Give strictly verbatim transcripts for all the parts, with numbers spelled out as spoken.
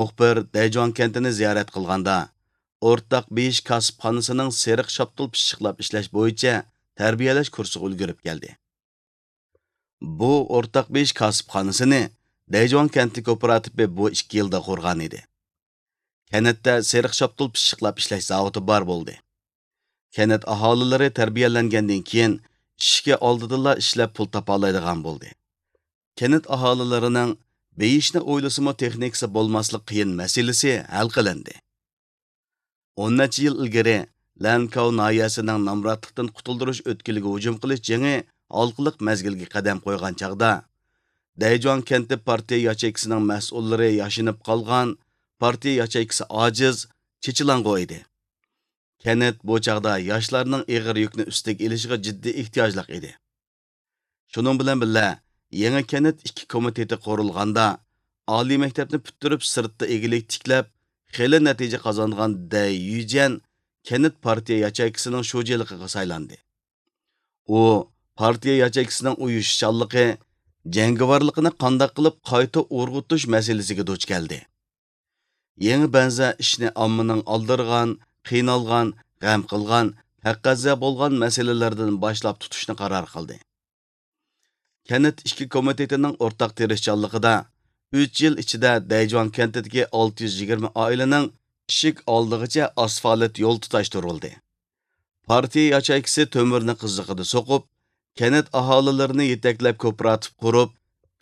مۇخبىر دەيجۇاڭ كەنتىنى زىيارەت قىلغاندا، ئورتاق بېيىش كاسىپخانىسىنىڭ سېرىق شاپتۇل پىششىقلاپ ئىشلەش بويىچە تەربىيەلەش كۇرسىغا ئۈلگۈرۈپ كەلدى. بۇ ئورتاق بېيىش كاسىپخانىسىنى دەيجۇاڭ كەنتى كوپىراتىپى بۇ ئىككى يىلدا قۇرغان ئىدى. كەنتتە سېرىق شاپتۇل پىششىقلاپ ئىشلەش زاۋۇتى بار بولدى. كەنت ئاھالىلىرى تەربىيەلەنگەندىن كېيىن، ئىشىكى ئالدىدىلا ئىشلەپ پۇل تاپالايدىغان بولدى. كەنت ئاھالىلىرىنىڭ بېيىشنى ئويلىسىمۇ تېخنىكىسى بولماسلىق قىيىن مەسىلىسى ھەل قىلىندى. ئون نەچچە يىل ئىلگىرى لەنكاۋ ناھىيەسىنىڭ نامراتلىقتىن قۇتۇلدۇرۇش ئۆتكىلىگە ھۇجۇم قىلىش جېڭى ھالقىلىق مەزگىلگە قەدەم قويغان چاغدا، دەيجۇاڭ كەنتى پارتىيە ياچېيكىسىنىڭ مەسئۇللىرى ياشىنىپ قالغان، پارتىيە ياچېيكىسى ئاجىز، چېچىلاڭغۇ ئىدى. كەنت بۇ چاغدا ياشلارنىڭ ئېغىر يۈكنى ئۈستىگە ئېلىشىغا جىددىي ئېھتىياجلىق ئىدى. شۇنىڭ بىلەن بىللە، يېڭى كەنت ئىككى كومىتېتى قۇرۇلغاندا، ئالىي مەكتەپنى پۈتتۈرۈپ، سىرتتا ئىگىلىك تىكلەپ، خېلى نەتىجە قازانغان دەي يۈجيەن كەنت پارتىيە ياچېيكىسىنىڭ شۇجىلىقىغا سايلاندى. ئۇ پارتىيە ياچېيكىسىنىڭ ئۇيۇشۇشچانلىقى، جەڭگىۋارلىقىنى قانداق قىلىپ قايتا ئۇرغۇتۇش مەسىلىسىگە دۇچ كەلدى. يېڭى بەنزە ئىشنى ئاممىنىڭ ئالدىرىغان، قىينالغان، غەم قىلغان، تەقەززا بولغان مەسىلىلەردىن باشلاپ تۇتۇشنى قارار قىلدى. كەنت ئىككى كومىتېتىنىڭ ئورتاق تىرىشچانلىقىدا ئۈچ يىل ئىچىدە دەيجۇاڭ كەنتىدىكى ئالتە يۈز يىگىرمە ئائىلىنىڭ ئىشىك ئالدىغىچە ئاسفالت يول تۇتاشتۇرۇلدى. پارتىيە ياچېيكىسى تۆمۈرنى قىزىقىدا سوقۇپ، كەنت ئاھالىلىرىنى يېتەكلەپ كوپىراتىپ قۇرۇپ،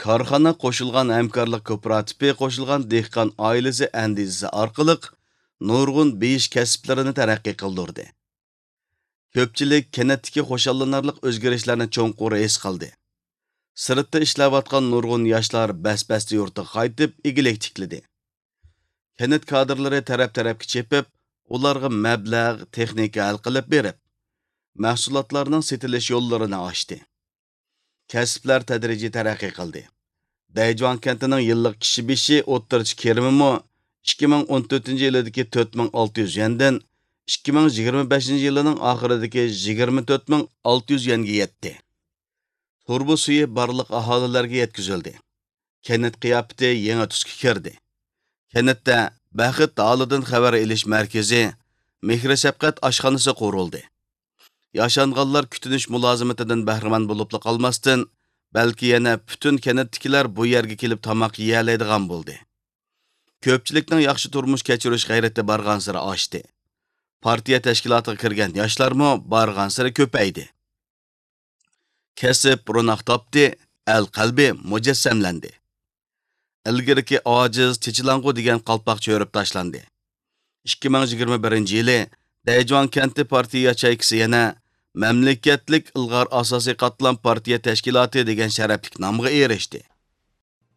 كارخانا قوشۇلغان ھەمكارلىق كوپىراتىپى قوشۇلغان دېھقان ئائىلىسى ئەندىزىسى ئارقىلىق نۇرغۇن بېيىش كەسىپلىرىنى تەرەققىي قىلدۇردى. كۆپچىلىك كەنتتىكى خۇشاللىنارلىق ئۆزگىرىشلەرنى چوڭقۇر ھېس قىلدى. سىرتتا ئىشلەۋاتقان نۇرغۇن ياشلار بەس-بەستە يۇرتىغا قايتىپ، ئىگىلىك تىكلىدى. كەنت كادىرلىرى تەرەپ-تەرەپكە چېپىپ، ئۇلارغا مەبلەغ، تېخنىكا ھەل قىلىپ بېرىپ، مەھسۇلاتلارنىڭ سېتىلىش يوللىرىنى ئاچتى. كەسىپلەر تەدرىجىي تەرەققىي قىلدى. دەيجۇاڭ كەنتىنىڭ يىللىق كىشى بېشى ئوتتۇرىچە كىرىمىمۇ ئىككى مىڭ ئون تۆتىنچى يىلىدىكى تۆت مىڭ ئالتە يۈز يۈەندىن ئىككى مىڭ يىگىرمە بەشىنچى يىلىنىڭ ئاخىرىدىكى يىگىرمە تۆت مىڭ ئالتە يۈز يۈەنگە يەتتى. تۇرۇبا سۈيى بارلىق ئاھالىلەرگە يەتكۈزۈلدى. كەنت قىياپىتى يېڭى تۈسكە كىردى. كەنتتە بەخت ھالىدىن خەۋەر ئېلىش مەركىزى، مېھرى-شەپقەت ئاشخانىسى قۇرۇلدى. ياشانغانلار كۈتۈنۈش مۇلازىمىتىدىن بەھرىمەن بولۇپلا قالماستىن، بەلكى يەنە پۈتۈن كەنتتىكىلەر بۇ يەرگە كېلىپ تاماق يېيەلەيدىغان بولدى. كۆپچىلىكنىڭ ياخشى تۇرمۇش كەچۈرۈش غەيرىتى بارغانسېرى ئاشتى. پارتىيە تەشكىلاتىغا كىرگەن ياشلارمۇ بارغانسېرى كۆپەيدى. كەسىپ روناق تاپتى، ئەل قەلبى مۇجەسسەملەندى. ئىلگىرىكى ئاجىز، چېچىلاڭغۇ دېگەن قالپاق چۆرۈپ تاشلاندى. ئىككى مىڭ يىگىرمە بىرىنچى يىلى دەيجۇاڭ كەنتى پارتىيە ياچېيكىسى يەنە مەملىكەتلىك ئىلغار ئاساسىي قاتلام پارتىيە تەشكىلاتى دېگەن شەرەپلىك نامغا ئېرىشتى.